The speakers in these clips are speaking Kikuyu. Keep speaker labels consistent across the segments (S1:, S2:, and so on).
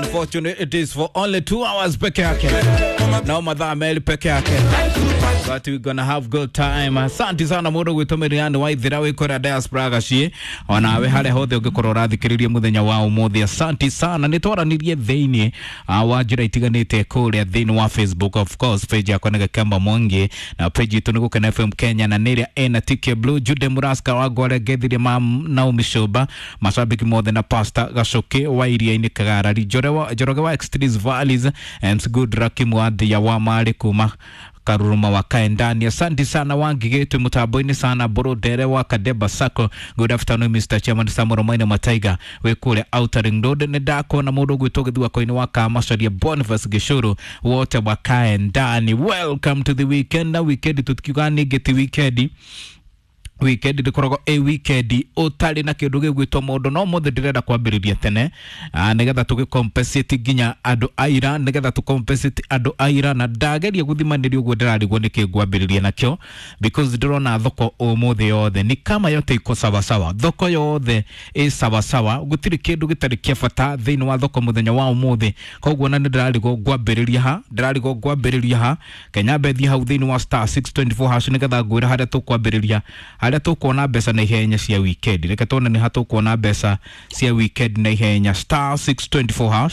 S1: Unfortunately, it is for only 2 hours peke yake, no mathaa merĩ peke yake, but we gonna have good time. Asante sana mũndũ gwĩtwo Miriam Waithira wĩ kũrĩa diaspora gaciĩ, onawe harĩa hothe ũngĩkorwo ũrathikĩrĩria mũthenya wa ũmũthĩ, asante sana. Nĩ twaranirie thĩinĩ wa njĩra itiganĩte kũrĩa thĩinĩ wa Facebook, of course page yakwa nĩ Gakemba Mwangi na page itũ nĩ Gũkena FM Kenya, na nĩ ĩrĩa ĩna TK Blue Jude Muraska wa Ngware, ngethirie ma Naomi Shoba, mashabiki mothe na Pastor Gacoki wa Iria-inĩ Kagarari, Njoroge wa Extremes Valleys, MC Good Rakimu wa Thia wa Marĩ kuma Karuruma wa Kaendani. Asante sana Wangigĩtwe mũtambo-inĩ sana Borondere wa Kadeba Sacco. Good afternoon, Mr. Chairman Samuel Maina Mataiga wĩ kũrĩa Outer Ring Road. Nĩ ndakona mũndũ ũgwĩtwo gĩthua-inĩ wa Kamacaria Boniface Gĩcũrũ wote wa Kaendani. Welcome to the weekend. Na weekend tũtikiuga ningĩ ti weekend, weekend ndĩkoragwo ĩ weekend ũtarĩ na kĩndũ gĩgwĩtwo mũndũ. No mũthĩ ndĩrenda kwambĩrĩria tene, nĩgetha tũgĩ compensate nginya andũ aira, nĩgetha tũ compensate andũ aira. Na ndageria gũthimanĩria ũguo ndĩrarigwo nĩkĩ ngwambĩrĩria nakĩo, because ndĩrona thoko ũmũthĩ yothe ni kama yote iko sawasawa, thoko yothe ĩ sawasawa, gũtirĩ kĩndũ gĩtarĩ kĩa bata thĩinĩ wa thoko mũthenya wa ũmũthĩ. Koguo na nĩ ndĩrarigwo ngwambĩrĩria ha, ndĩrarigwo ngwambĩrĩria ha. Kenya mbethi hau thĩinĩ wa *624# nĩgetha ngwĩre harĩa tũkwambĩrĩria, harĩa tũkuona mbeca na ihenya cia weekend. Reke tuone nĩ ha tũkuona mbeca cia weekend na ihenya. *624#.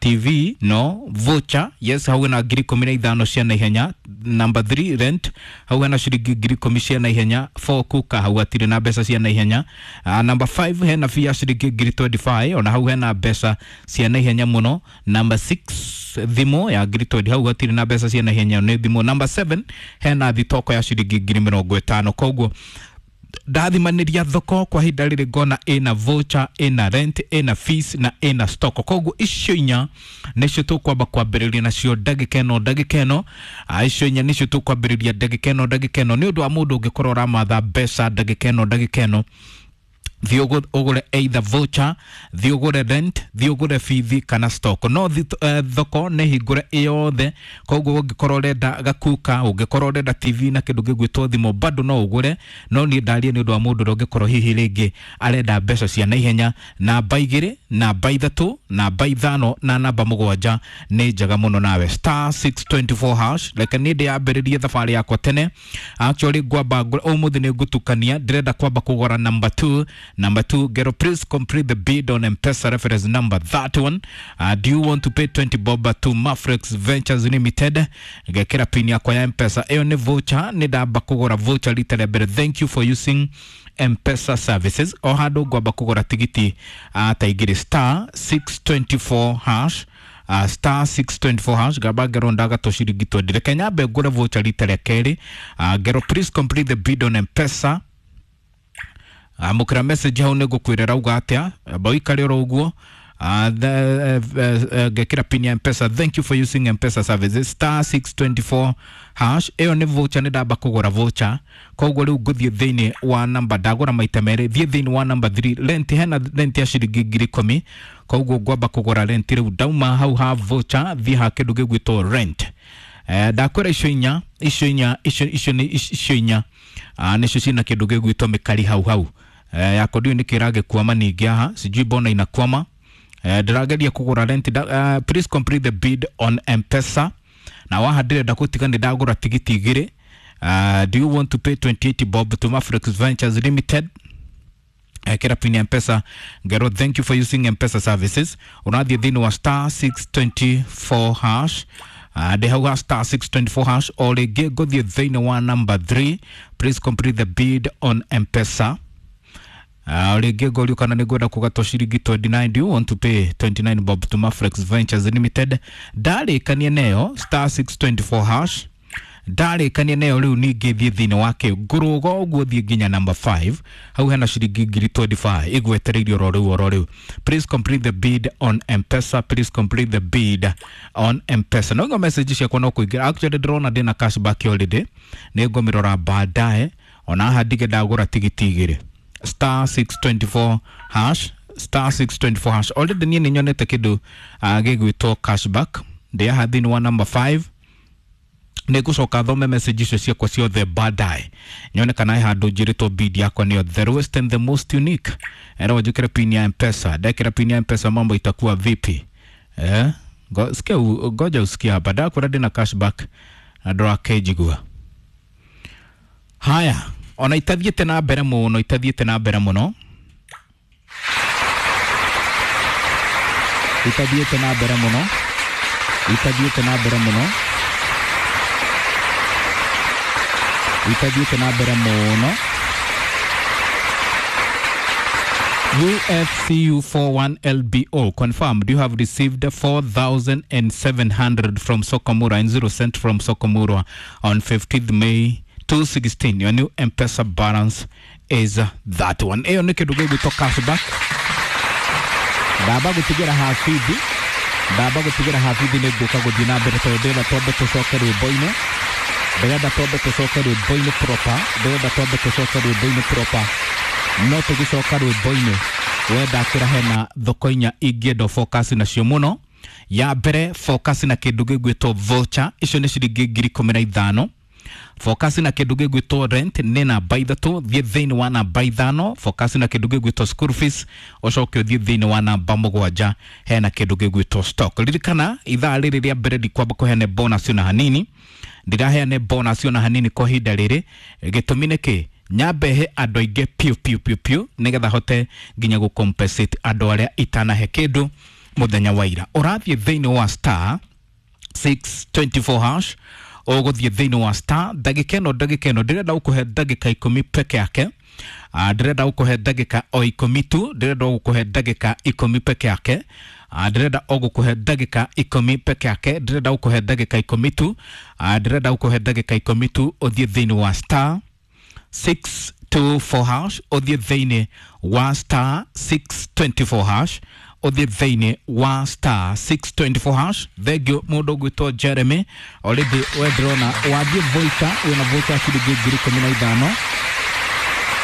S1: TV no voucher, yes, hau hena 15,000 cia naihenya. Number 3, rent, hau hena ciringi 10,000 cia naihenya. 4, kuka, hau hatirĩ na mbeca cia naihenya. Number 5 hena fee ya ciringi 25,000, ona hau hena mbeca cia naihenya mũno. Number 6, thimũ ya 20,000, hau hatirĩ na mbeca cia naihenya, nĩ thimũ. Number 7 hena thitoko ya ciringi 50,000. Koguo ndathimanĩria thoko kwa ihinda rĩrĩ ngona ĩna voucher, ĩna rent, ĩna fees na ĩna stock. Koguo icio inya nĩcio tũkwamba kwambĩrĩria nacio ndagĩka ĩno, ndagĩka ĩno. Icio inya nĩcio tũkwambĩrĩria ndagĩka ĩno, ndagĩka ĩno, nĩ ũndũ wa mũndũ ũngĩkorwo ũramatha mbeca ndagĩka ĩno, ndagĩka ĩno. Thiĩ ũgũre either voucher, thiĩ ũgũre rent, thiĩ ũgũre bithi kana stock. No thoko nĩ hingũre ĩyothe, koguo ũngĩkorwo ũrenda gakuka, ũngĩkorwo ũrenda TV na kĩndũ gĩgwĩtwo thimũ, bado no ũgũre. No niĩ ndarie nĩ ũndũ wa mũndũ ũrĩa ũngĩkorwo hihi rĩngĩ arenda mbeca cia naihenya. Namba 2, namba 3, namba 5 na namba 7 nĩ njega mũno nawe. *624#. Reke niĩ ndĩyambĩrĩrie thabarĩ yakwa tene. Actually ngwamba ũmũthĩ nĩ ngũtukania, ndĩrenda kwamba kũgũra number 2. Number 2 gero, please complete the bid on M-Pesa reference number that one. Do you want to pay 20 bob to Mafrex Ventures Limited? Ngekĩra pin yakwa ya M-Pesa. Ĩyo nĩ voucher, nĩ ndamba kũgũra voucher rita rĩa mbere. Thank you for using M-Pesa services. O handũ ngwamba kũgũra tigiti ta igĩrĩ. *624#, *624# ngamba ngerwo ndagatwo ciringi 20. Reke nyambe ngũre voucher rita rĩa kerĩ. Ngero, please complete the bid on M-Pesa. Amũkĩra message hau nĩ ngũkwĩra rauga atĩa. Amba ũikare oro ũguo. Ngekĩra pin ya M-Pesa. Thank you for using M-Pesa services. *624#. Ĩyo nĩ voucher, nĩ ndamba kũgũra voucher. Koguo rĩu ngũthiĩ thĩinĩ wa namba, ndagũra maita merĩ, thiĩ thĩinĩ wa namba 3, rent. Hena rent ya ciringi 10,000, koguo ngwamba kũgũra rent. Rĩu ndauma hau ha voucher, thiĩ ha kĩndũ gĩgwĩtwo rent. Ndakwĩra icio inya, icio inya, icio icio nĩ icio inya, nĩcio cina kĩndũ gĩgwĩtwo mĩkari hau hau. Yako ndiũ nĩkĩ ĩragĩkwama ningĩ haha, sijui mbona inakwama. Ndĩrageria kũgũra rent. Please complete the bid on M-Pesa. Na waha ndĩrenda gũtiga nĩ ndagũra tigiti igĩrĩ. Do you want to pay 28 bob to Mafrex Ventures Limited? Kĩra pin ya M-Pesa. Ngero, thank you for using M-Pesa services. Ũrathiĩ thĩinĩ wa *624#. Ndĩ hau ha *624# o rĩngĩ ngũthiĩ thĩinĩ wa number 3, please complete the bid on M-Pesa. Rĩngĩ ngorio kana nĩ ngwenda kũgatwo ciringi 29. Do you want to pay 29 bob to Mafrex Ventures Limited? Ndarĩkania neyo *624#, ndarĩkania nayo. Rĩu ningĩ thiĩ thĩinĩ wake ngũrũga ũguo, thiĩ nginya number 5, hau hena ciringi 25,000 ĩgwetereirio oro rĩu, oro rĩu. Please complete the bid on M-Pesa, please complete the bid on M-Pesa. No message ciakwa no kũingĩra. Actually ndĩrona ndĩna cashback already, nĩ ngũmĩrora baadaye. Ona haha ndige ndagũra tigiti igĩrĩ. *624#, *624# already niĩ nĩ nyonete kĩndũ gĩgwĩtwo cashback. Ndĩ haha thĩinĩ wa number 5, nĩ ngũcoka thome message icio ciakwa ciothe baadaye, nyone kana he handũ njĩrĩtwo bid yakwa nĩyo the lowest and the most unique. Era njĩkĩre pin ya M-Pesa. Ndekĩra pin ya M-Pesa, mambo itakuwa vipi? Sikia, ngoja usikie hapa ndakwĩra ndĩna cashback na ndũrakĩnjigua. Haya, ona itathiĩte na mbere mũno, itathiĩte na mbere mũno, itathiĩte na mbere mũno, itathiĩte na mbere mũno, itathiĩte na mbere mũno. UFCU 41LBO confirmed you have received 4,700 from Sokomura and 0 cent from Sokomura on 15th May 2016. Your new M-Pesa balance is that one. Ĩyo nĩ kĩndũ gĩgwĩtwo cashback. Ndamba gũtigĩra habithi, ndamba gũtigĩra habithi nĩ ngũka gũthiĩ na mbere tondũ ndĩrenda twambe tũcoke rwĩmbo-inĩ, ndĩrenda twambe tũcoke rwĩmbo-inĩ proper, ndĩrenda twambe tũcoke rwĩmbo-inĩ proper. No tũgĩcoka rwĩmbo-inĩ wenda kĩra hena thoko inya ingĩenda focus nacio mũno. Ya mbere focus na kĩndũ gĩgwĩtwo voucher, icio nĩ ciringi 15,000. Focus na kĩndũ gĩgwĩtwo rent nĩ namba 3, thiĩ thĩinĩ wa namba 5. Focus na kĩndũ gĩgwĩtwo school fees, ũcoke ũthiĩ thĩinĩ wa namba 7, hena kĩndũ gĩgwĩtwo stock. Ririkana ithaa rĩrĩ rĩa mbere ndikwamba kũheane bonus ona hanini, ndiraheane bonus ona hanini kwa ihinda rĩrĩ. Gĩtũmi nĩ kĩ? Nyambe he andũ aingĩ piũ piũ piũ piũ nĩgetha hote nginya gũ compensate andũ arĩa itanahe kĩndũ mũthenya wa ira. Ũrathiĩ thĩinĩ wa star 624 hash, ũgũthiĩ thĩinĩ wa star ndagĩka ĩno, ndagĩka ĩno ndĩrenda gũkũhe ndagĩka 10 peke yake. Ndĩrenda gũkũhe ndagĩka o 10 tu, ndĩrenda gũkũhe ndagĩka 10 peke yake. Ndĩrenda o gũkũhe ndagĩka 10 peke yake, ndĩrenda gũkũhe ndagĩka 10 tu. Ndĩrenda gũkũhe ndagĩka 10 tu ũthiĩ thĩinĩ wa star 624 hash, ũthiĩ thĩinĩ wa star 624 hash, ũthiĩ thĩinĩ wa star 624 hash. Thengiũ mũndũ ũgwĩtwo Jeremy already, we ndĩrona wathiĩ voucher, wĩna voucher ciringi 15,000.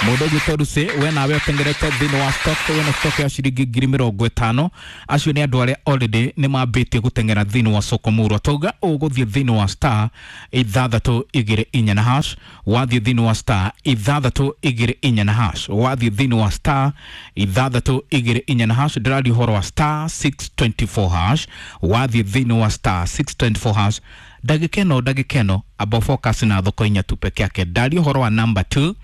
S1: Mũndũ ũgwĩtwo Lucy, we nawe ũtengerete thĩinĩ wa stock, wĩna stock ya ciringi 50,000. Acio nĩ andũ arĩa already nĩ mambĩtie gũteng'era thĩinĩ wa soko murwa. Tauga ũgũthiĩ thĩinĩ wa star 624 na hash, wathiĩ thĩinĩ wa star 624 na hash, wathiĩ thĩinĩ wa star 624 na hash. Ndĩraria ũhoro wa star 624 hash, wathiĩ thĩinĩ wa star 624 hash. Ndagĩka ĩno, ndagĩka ĩno amba focus na thoko inya tu peke yake. Ndaria ũhoro wa number 2,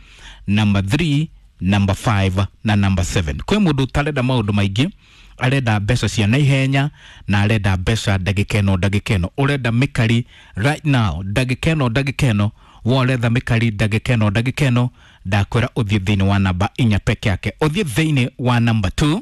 S1: number 3, number 5 na number 7. Kwĩ mũndũ ũtarenda maũndũ maingĩ, arenda mbeca cia naihenya na arenda mbeca ndagĩka ĩno, ndagĩka ĩno ũrenda mĩkari right now, ndagĩka ĩno, ndagĩka ĩno we ũretha mĩkari ndagĩka ĩno, ndagĩka ĩno. Ndakwĩra ũthiĩ thĩinĩ wa namba 4 peke yake. Ũthiĩ thĩinĩ wa number 2,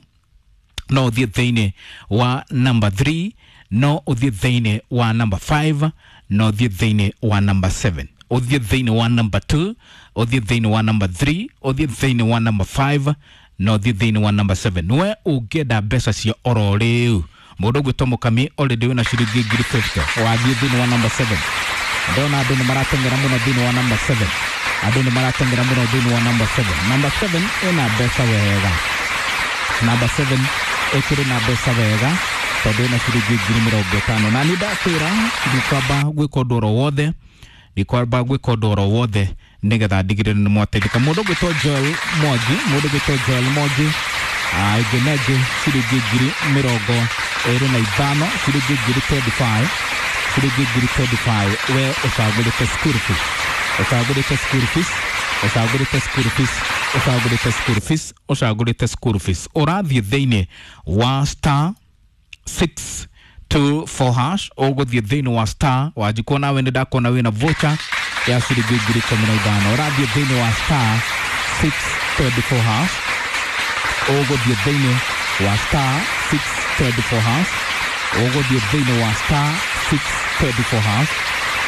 S1: no ũthiĩ thĩinĩ wa number 3, no ũthiĩ thĩinĩ wa number 5, no ũthiĩ thĩinĩ wa number 7. Ũthiĩ thĩinĩ wa number 2, ũthiĩ thĩinĩ wa number 3, ũthiĩ thĩinĩ wa number 5, na ũthiĩ thĩinĩ wa number 7. We ũngĩenda mbeca cia oro rĩu, mũndũ ũgwĩtwo Mũkami already wĩna ciringi 50,000, wathiĩ thĩinĩ wa number 7. Ndona andũ nĩ marateng'era mũno thĩinĩ wa number 7, andũ nĩ marateng'era mũno thĩinĩ wa number 7. Number 7 ĩna mbeca wega, number 7 ĩkĩrĩ na mbeca wega tondũ ĩna ciringi 50,000. Na nĩ ndakwĩra ndikwamba gwĩka ũndũ oro wothe, ndikwamba gwĩka ũndũ oro wothe nĩgetha ndigĩrĩre nĩ mwateithĩka. Mũndũ ũgwĩtwo Joel Mwangi, mũndũ ũgwĩtwo Joel Mwangi, ĩngĩ na ĩngĩ ciringi 25,000, ciringi 25,000, ciringi 25,000. We ũcagũrĩte school fees, ũcagũrĩte school fees, ũcagũrĩte school fees, ũcagũrĩte school fees, ũcagũrĩte school fees. Ũrathiĩ thĩinĩ wa star 624 hash, ũgũthiĩ thĩinĩ wa star wanjikwo nawe nĩ ndakuona wĩna voucher ya ciringi 15,000. Ũrathiĩ thĩinĩ wa star 624 hash, ũgũthiĩ thĩinĩ wa star 624 hash, ũgũthiĩ thĩinĩ wa star 624 hash,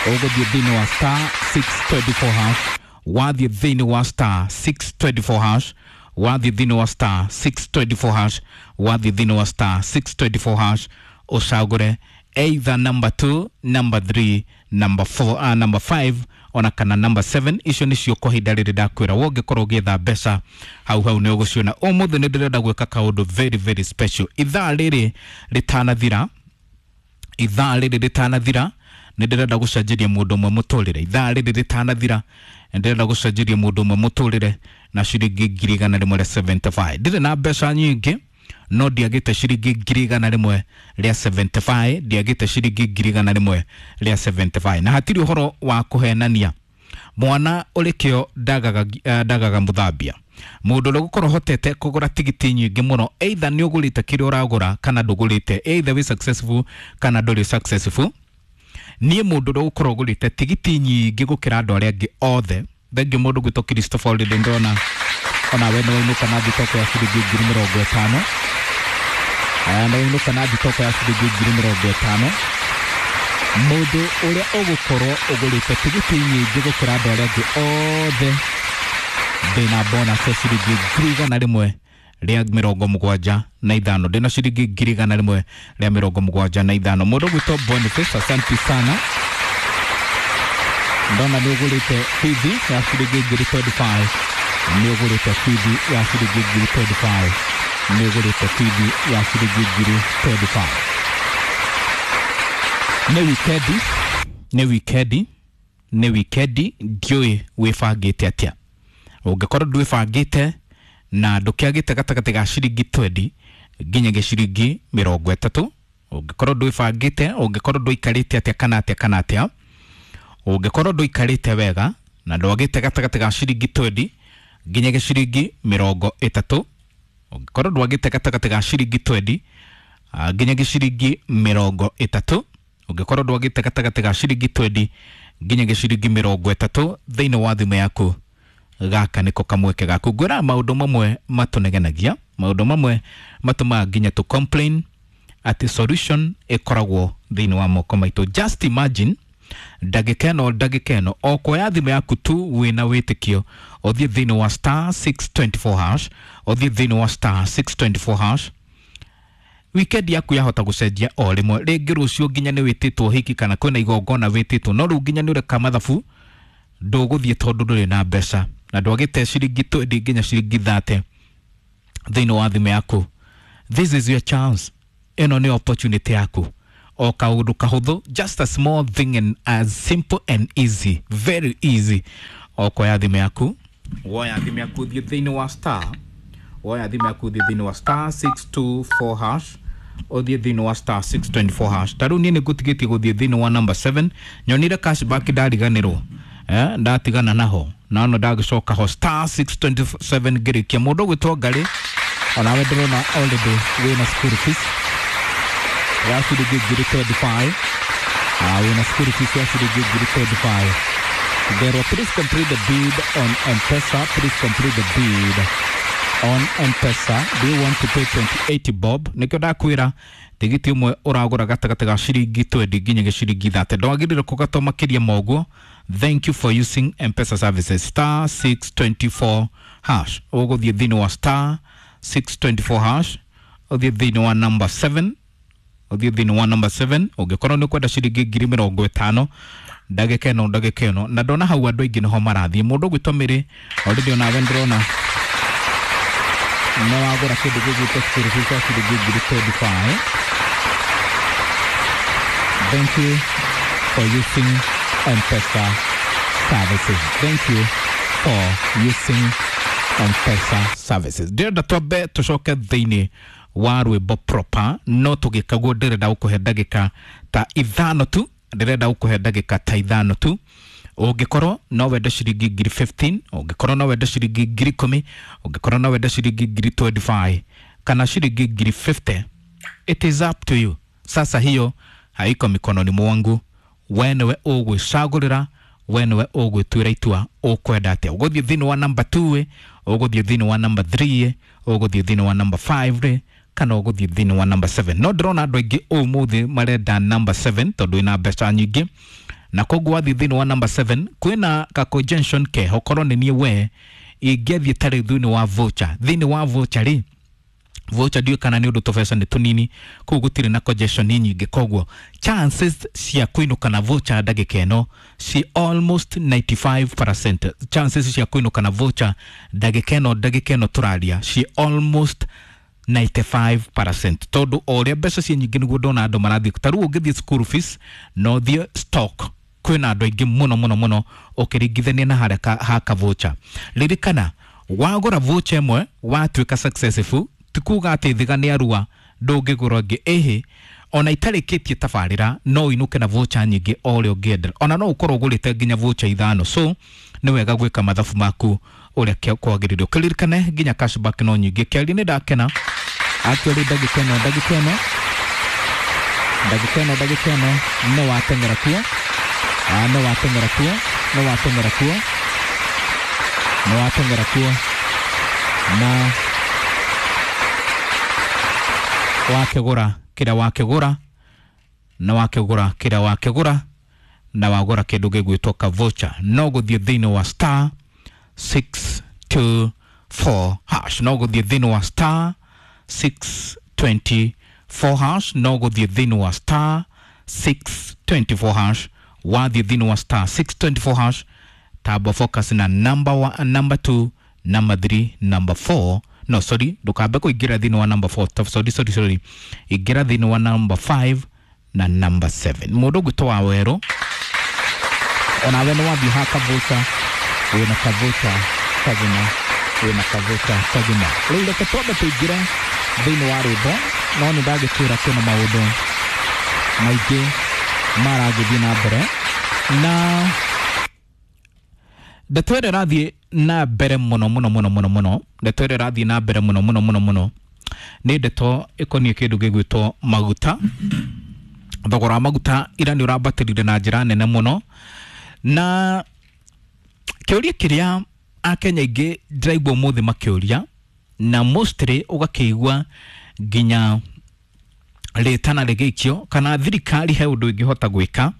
S1: ũgũthiĩ thĩinĩ wa star 624 hash. Wathiĩ thĩinĩ wa star 624 hash, wathiĩ thĩinĩ wa star 624 hash, wathiĩ thĩinĩ wa star 624 hash, ũcagũre either number 2, number 3, number 4, number 5 ona kana number 7. Icio nĩcio kwa ihinda rĩrĩ ndakwĩra we ũngĩkorwo ũgĩetha mbeca hau hau nĩ ũgũciona. Ũmũthĩ nĩ ndĩrenda gwĩka kaũndũ very very special. Ithaa rĩrĩ rĩtanathira, ithaa rĩrĩ rĩtanathira nĩ ndĩrenda gũcenjeria mũndũ ũmwe mũtũrĩre. Ithaa rĩrĩ rĩtanathira nĩ ndĩrenda gũcenjeria mũndũ ũmwe mũtũrĩre na ciringi 175,000. Ndirĩ na mbeca nyingĩ, No ndiagĩte ciringi 175,000, ndiagĩte ciringi 175,000, na hatirĩ ũhoro wa kũhenania. Mwana ũrĩ kĩo ndagaga, ndagaga mũthambia. Mũndũ ũrĩa ũgũkorwo ũhotete kũgũra tigiti nyingĩ mũno, either nĩ ũgũrĩte kĩrĩa ũragũra kana ndũgũrĩte, either wĩ successful kana ndũrĩ successful. Niĩ mũndũ ũrĩa ũgũkorwo ũgũrĩte tigiti nyingĩ gũkĩra andũ arĩa angĩ othe, thengiũ mũndũ gwĩtwo Christopher already ndĩrona onawe nĩ wainũka na thitoko ya ciringi 50,000. Nĩ wainũka na thitoko ya ciringi 50,000. Mũndũ ũrĩa ũgũkorwo ũgũrĩte tigiti nyingĩ gũkĩra andũ arĩa angĩ othe, ndĩna bonus ya ciringi 175,000, ndĩna ciringi 175,000. Mũndũ ũgwĩtwo Boniface, asanti sana, ndona nĩ ũgũrĩte bithi ya ciringi 25,000, nĩ ũgũrĩte bithi ya ciringi 25,000, nĩ ũgũrĩte bithi ya ciringi 25,000. Nĩ wikendi, nĩ wikendi, nĩ wikendi, ndiũĩ wĩbangĩte atĩa. Ũngĩkorwo ndwĩbangĩte na ndũkĩagĩte gatagatĩ ga ciringi 20 nginyagia ciringi 30, ũngĩkorwo ndwĩbangĩte, ũngĩkorwo ndũikarĩte atĩa kana atĩa kana atĩa, ũngĩkorwo ndũikarĩte wega na ndwagĩte gatagatĩ ga ciringi 20 nginyagia ciringi 30, ũngĩkorwo ndwagĩte gatagatĩ ga ciringi 20 nginyagia ciringi 30, ũngĩkorwo ndwagĩte gatagatĩ ga ciringi 20 nginyagia ciringi 30 thĩinĩ wa thimũ yaku, gaka nĩko kamweke gaku. Ngwĩra maũndũ mamwe matũnegenagia, maũndũ mamwe matũmaga nginya tũ complain atĩ solution ĩkoragwo thĩinĩ wa moko maitũ. Just imagine ndagĩka ĩno, ndagĩka ĩno o kuoya thimũ yaku tu wĩna wĩtĩkio, ũthiĩ thĩinĩ wa star 624 hash, ũthiĩ thĩinĩ wa star 624 hash, weekend yaku yahota gũcenjia o rĩmwe. Rĩngĩ rũciũ nginya nĩ wĩtĩtwo hiki kana kwĩna igongona wĩtĩtwo, no rĩu nginya nĩ ũreka mathabu ndũgũthiĩ tondũ ndũrĩ na mbeca na ndwagĩte ciringi 20 nginya ciringi 30 thĩinĩ wa thimũ yaku. This is your chance, ĩno nĩ opportunity yaku. O kaũndũ kahũthũ, just a small thing and as simple and easy, very easy. O kuoya thimũ yaku, woya thimũ yaku ũthiĩ thĩinĩ wa star, woya thimũ yaku ũthiĩ thĩinĩ wa star 624 hash, ũthiĩ thĩinĩ wa star 624 hash. Ta rĩu niĩ nĩ ngũtigĩtie gũthiĩ thĩinĩ wa number 7, nyonire cashback ndariganĩrwo, ndatigana naho nano ndagĩcoka ho star 627 ngĩrĩkia. Mũndũ ũgwĩtwo Ngarĩ, onawe ndĩrona already wĩna school fees ya ciringi 25,000, wĩna school fees ya ciringi 25,000. Therefore, please complete the bid on M-Pesa. Please complete the bid on M-Pesa. Do you want to pay 28 bob? Nĩkĩo ndakwĩra tigiti ũmwe ũragũra gatagatĩ ga ciringi 20 nginyagia ciringi 30, ndwagĩrĩire kũgatwo makĩria ma ũguo. Thank you for using M-Pesa services. Star 624 hash, ũgũthiĩ thĩinĩ wa star 624 hash, ũthiĩ thĩinĩ wa number 7, ũthiĩ thĩinĩ wa number 7. Ũngĩkorwo nĩ ũkwenda ciringi 50,000 ndagĩka ĩno, ndagĩka ĩno, na ndona hau andũ aingĩ nĩho marathiĩ. Mũndũ ũgwĩtwo Mĩrĩ, already onawe ndĩrona nĩ wagũra kĩndũ gĩgwĩtwo school fees ya ciringi 25,000. Thank you for using M-Pesa services. Thank you for using M-Pesa services. Ndĩrenda twambe tũcoke thĩinĩ wa rwĩmbo proper, no tũgĩkaguo ndĩrenda gũkũhe ndagĩka ta 5 tu, ndĩrenda gũkũhe ndagĩka ta 5 tu. Ũngĩkorwo no wende ciringi 15,000, ũngĩkorwo no wende ciringi 10,000, ũngĩkorwo no wende ciringi 25,000 kana ciringi 50,000, it is up to you. Sasa hiyo haiko mikononi mwangu, we nĩwe ũgwĩcagũrĩra, we nĩwe ũgwĩtuĩra itua ũkwenda atĩa. Ũgũthiĩ thĩinĩ wa number 2, ũgũthiĩ thĩinĩ wa number 3, ũgũthiĩ thĩinĩ wa number 5, kana ũgũthiĩ thĩinĩ wa number 7. No ndĩrona andũ aingĩ ũmũthĩ marenda number 7 tondũ ĩna mbeca nyingĩ, na koguo wathiĩ thĩinĩ wa number 7 kwĩna ka congestion keho. Korwo nĩ niĩ we ingĩathiĩ tarĩu thĩinĩ wa voucher, thĩinĩ wa voucher rĩ, voucher ndiũĩ kana nĩ ũndũ tũbeca nĩ tũnini, kũu gũtirĩ na congestion nyingĩ, koguo chances cia kũinũka na voucher ndagĩka ĩno ci almost 95%. Chances cia kũinũka na voucher ndagĩka ĩno, ndagĩka ĩno tũraria, ci almost 95%, tondũ o ũrĩa mbeca ciĩ nyingĩ nĩguo ndona andũ marathiĩ. Ta rĩu ũngĩthiĩ school fees na ũthiĩ stock, kwĩna andũ aingĩ mũno mũno mũno ũkĩringithania na harĩa ha ka voucher. Ririkana wagũra voucher ĩmwe watuĩka successful, Ti kuga atĩ thiga nĩ arua ndũngĩgũra ĩngĩ, ĩhĩ ona itarĩkĩtie tabarĩra no ũinũke na voucher nyingĩ o ũrĩa ũngĩenda, ona no ũkorwo ũgũrĩte nginya voucher 5. So nĩ wega gwĩka mathabu maku ũrĩa kwagĩrĩire. Ũkĩririkane nginya cashback no nyingĩ. Kĩaria nĩ ndakena actually, ndagĩka ĩno ndagĩka ĩno ndagĩka ĩno ndagĩka ĩno nĩ wateng'era kuo, nĩ wateng'era kuo, nĩ wateng'era kuo, nĩ wateng'era kuo na wakĩgũra kĩrĩa wakĩgũra na wakĩgũra kĩrĩa wakĩgũra na wagũra kĩndũ gĩgwĩtwo ka voucher, no gũthiĩ thĩinĩ wa star 624 hash, no gũthiĩ thĩinĩ wa star 624 hash, no gũthiĩ thĩinĩ wa star 624 hash. Wathiĩ thĩinĩ wa star 624 hash, tamba focus na number 1, number 2, number 3, number 4. No, sorry, ndũkambe kũingĩra thĩinĩ wa number 4. Sorry, sorry, sorry, ingĩra thĩinĩ wa number 5 na number 7. Mũndũ ũgwĩtwo wa werũ, onawe nĩ wathiĩ ha kavuca, wĩna kavuca kagima, wĩna kavuca kagima. Rĩu reke twambe tũingĩre thĩinĩ wa rwĩmbo, no nĩ ndagĩkwĩra kwĩna maũndũ maingĩ maragĩthiĩ na mbere, na ndeto ĩrĩa ĩrathiĩ na mbere mũno mũno mũno mũno mũno, ndeto ĩrĩa ĩrathiĩ na mbere mũno mũno mũno mũno nĩ ndeto ĩkoniĩ kĩndũ gĩgwĩtwo maguta. Thogora wa maguta ira nĩ ũrambatĩrire na njĩra nene mũno, na kĩũria kĩrĩa akenya aingĩ ndĩraigua ũmũthĩ makĩũria, na mostly ũgakĩigua nginya rĩtana rĩgĩikio kana thirikari he ũndũ ĩngĩhota gwĩka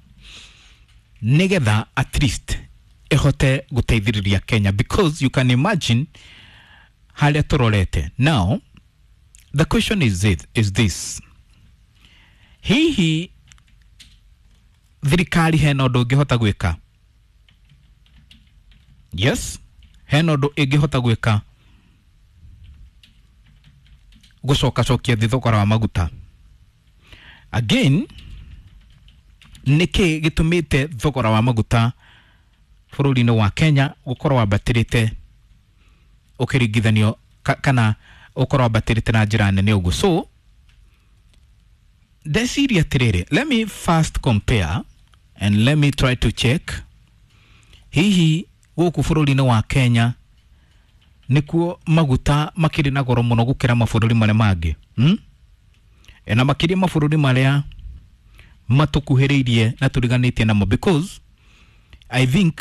S1: nĩgetha at least ĩhote gũteithĩrĩria Kenya, because you can imagine harĩa tũrorete. Now the question is, is this: hihi thirikari hena ũndũ ĩngĩhota gwĩka? Yes, hena ũndũ ĩngĩhota gwĩka gũcokacokia thĩ thogora wa maguta? Again, nĩkĩ gĩtũmĩte thogora wa maguta bũrũri-inĩ wa Kenya gũkorwo wambatĩrĩte ũkĩringithanio kana ũkorwo wambatĩrĩte na njĩra nene ũguo? So ndeciria atĩrĩrĩ, let me first compare and let me try to check hihi gũkũ bũrũri-inĩ wa Kenya nĩkuo maguta makĩrĩ na goro mũno gũkĩra mabũrũri marĩa mangĩ, Na makĩria mabũrũri marĩa matũkuhĩrĩirie na tũriganĩtie namo, because I think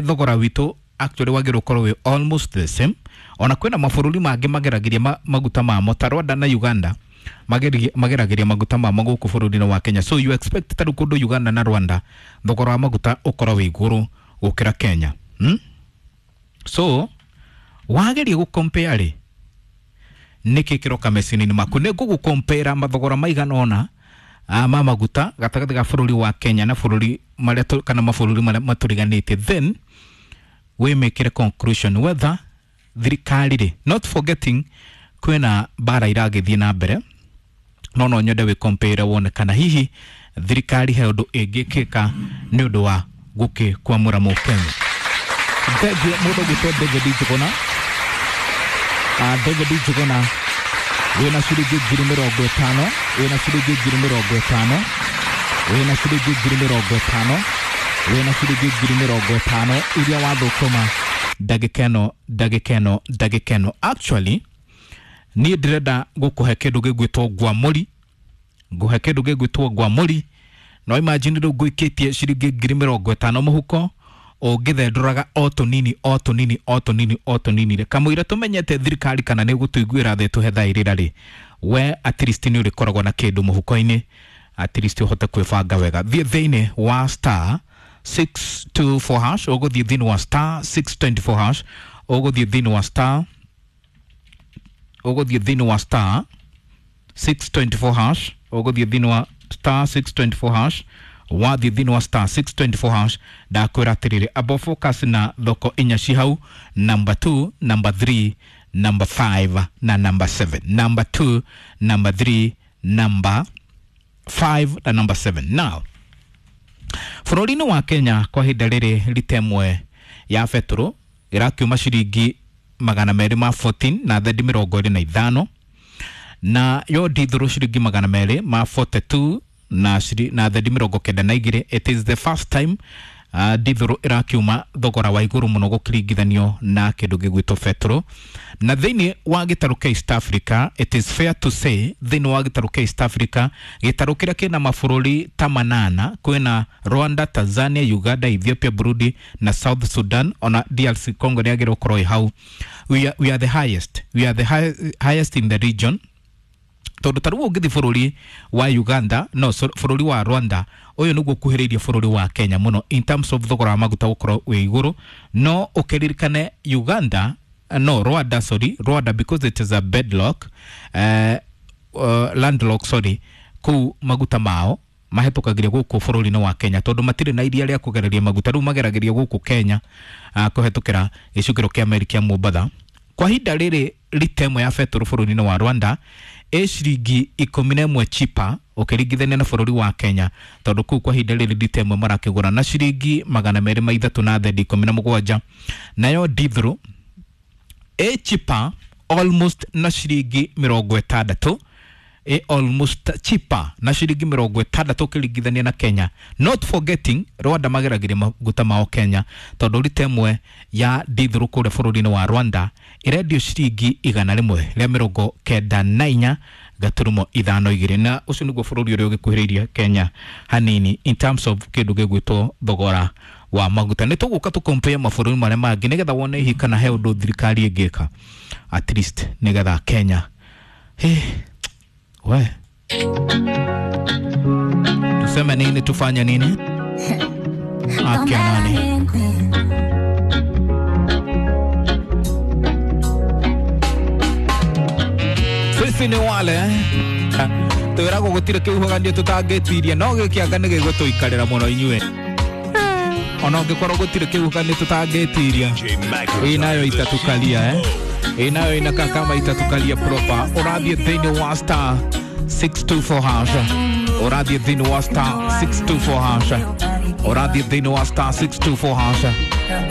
S1: thogora witũ actually wagĩrĩirwo gũkorwo wĩ almost the same. Ona kwĩna mabũrũri mangĩ mageragĩria maguta mamo ta Rwanda na Uganda, mageragĩria maguta mamo gũkũ bũrũri-inĩ wa Kenya. So you expect ta rĩu kũndũ Uganda na Rwanda thogora wa maguta ũkorwo wĩ igũrũ gũkĩra Kenya, So wageria gũcompare rĩ, nĩkĩ kĩroka meciria-inĩ maku? Nĩ ngũgũcompare mathogora maigana ũna ma maguta gatagatĩ ga bũrũri wa Kenya na bũrũri marĩa kana mabũrũri marĩa matũriganĩtie, then wĩmĩkĩre conclusion whether thirikari rĩ, not forgetting kwĩna mbara iragĩthiĩ na mbere, no no nyende wĩ compare wone kana hihi thirikari he ũndũ ĩngĩkĩka nĩ ũndũ wa gũkĩkwamũra mũkenya. Thengiũ mũndũ ũgwĩtwo David Njuguna. David Njuguna wĩna ciringi 50,000, wĩna ciringi 50,000, wĩna ciringi 50,000, wĩna ciringi 50,000 iria wathũkũma ndagĩka ĩno ndagĩka ĩno ndagĩka ĩno. Actually niĩ ndĩrenda gũkũhe kĩndũ gĩgwĩtwo ngwamũri, ngũhe kĩndũ gĩgwĩtwo ngwamũri. No imagine rĩu ngũikĩtie ciringi 50,000 mũhuko ũngĩthendũraga o tũnini o tũnini o tũnini o tũnini rĩ, kamũira tũmenyete thirikari kana nĩ gũtũiguĩra thĩ tũhe thaa irĩra rĩ, we at least nĩ ũrĩkoragwo na kĩndũ mũhuko-inĩ, at least ũhote kwĩbanga wega. Thiĩ thĩinĩ wa star 624 hash, ũgũthiĩ thĩinĩ wa star 624 hash, ũgũthiĩ thĩinĩ wa star, ũgũthiĩ thĩinĩ wa star 624 hash, ũgũthiĩ thĩinĩ wa star 624 hash. Wathiĩ thĩinĩ wa star 624 hash, ndakwĩra atĩrĩrĩ, abo focus na thoko inya ci hau, number 2, number 3, number 5 na number 7. Number 2, number 3, number 5 na number 7. Now bũrũri-inĩ wa Kenya kwa ihinda rĩrĩ rita ĩmwe ya betũrũ ĩrakiuma ciringi 214.25. Na yo dithuru ciringi magana merĩ ma 42 na na thendi mĩrongo kenda na igĩrĩ. It is the first time dithuru ĩrakiuma thogora wa igũrũ mũno gũkĩringithanio na kĩndũ gĩgwĩtwo petro. Na thĩinĩ wa gĩtarũ kĩa East Africa, it is fair to say thĩinĩ wa gĩtarũ kĩa East Africa, gĩtarũ kĩrĩa kĩna mabũrũri ta manana, kwĩna Rwanda, Tanzania, Uganda, Ethiopia, Burundi na South Sudan, ona DRC Congo nĩ yagĩrĩirwo gũkorwo ĩ hau. We are the highest, we are the highest in the region. Tondu ta rĩu ũngĩthiĩ bũrũri wa Uganda, no bũrũri wa Rwanda, ũyũ nĩguo ũkuhĩrĩirie bũrũri wa Kenya mũno in terms of thogora wa maguta gũkorwo wĩ igũrũ. No ũkĩririkane Uganda, no Rwanda, sorry, Rwanda, because it is a bedlock, landlock, sorry, kũu maguta mao mahĩtũkagĩria gũkũ bũrũri-inĩ wa Kenya tondũ matirĩ na iria rĩa kũgereria maguta, rĩu mageragĩria gũkũ Kenya kũhetũkĩra gĩcukĩro kĩa meri kĩa Mombatha. Kwa ihinda rĩrĩ rita ĩmwe ya betũrũ bũrũri-inĩ wa Rwanda ĩ ciringi 11 chipa ũkĩringithania na bũrũri wa Kenya, tondũ kũu kwa ihinda rĩrĩ rita ĩmwe marakĩgũra na ciringi magana merĩ ma ithatũ na thendi 17. Nayo dithuru ĩ chipa almost na ciringi mĩrongo ĩtandatũ, ĩ almost cheaper na ciringi mĩrongo ĩtandatũ ũkĩringithania na Kenya. Not forgetting Rwanda mageragĩria maguta mao Kenya, tondũ rita ĩmwe ya dithuru kũrĩa bũrũri-inĩ wa Rwanda ĩrendio ciringi 194.52, na ũcio nĩguo bũrũri ũrĩa ũgĩkuhĩrĩirie Kenya hanini in terms of kĩndũ gĩgwĩtwo thogora wa maguta. Nĩ tũgũka tũkompare mabũrũri marĩa mangĩ nĩgetha wone hihi kana he ũndũ thirikari ĩngĩka at least nĩgetha Kenya hey, we tuseme nini, tufanye nini? Akia nani? Sisi ni wale twĩragwo gũtirĩ kĩhuhũkanio tũtangĩtiria, no gĩkĩanga nĩ gĩgũtũikarĩra mũno inyuĩ. Ona ũngĩkorwo gũtirĩ kĩhuhũkanio tũtangĩtiria, ĩ nayo itatukalia ĩ nayo inakaa kama itatukalia proper. Ũrathiĩ thĩinĩ wa star 624 hash, ũrathiĩ thĩinĩ wa star 624 hash, ũrathiĩ thĩinĩ wa star 624 hash.